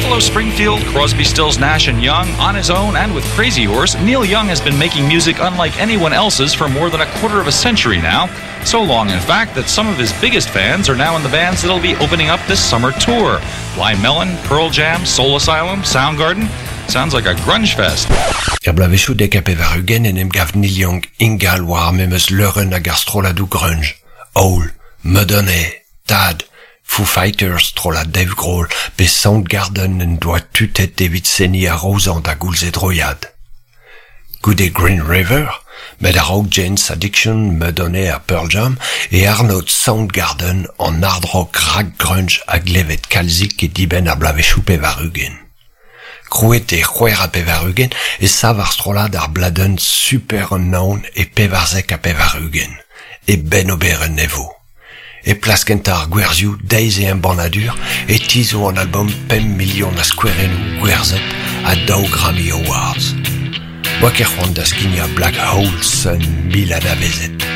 Buffalo Springfield, Crosby, Stills, Nash and Young, on his own and with Crazy Horse, Neil Young has been making music unlike anyone else's for more than a quarter of a century now. So long, in fact, that some of his biggest fans are now in the bands that'll be opening up this summer tour. Blind Melon, Pearl Jam, Soul Asylum, Soundgarden. Sounds like a grunge fest. Er bloavezhioù 90 en em gav Neil Young ingal war ar memes leurenn hag ar strolladoù grunge, Hole, Mudhoney, Tad, Foo Fighters, strollad Dave Grohl pe Soundgarden en doa tutet evit seniñ a-raozañ da goulz e droiad. Goude Green River, met a-raok Jane's Addiction, Mudhoney ha Pearl Jam e arnod Soundgarden an hard rock rak-grunge a gleved kalzik e dibenn ar bloavezhioù 80. Krouet e 86 e sav ar strollad ar bladenn Superunknown e 94, e bennoberenn e vo. E plas kentañ ar gwerzhioù deiz e embannadur e tizho an albom pemp milion a skouerennoù gwerzhet ha daou Grammy Awards. Oa ket c'hoant da skignañ Black Hole Sun mil anavezet.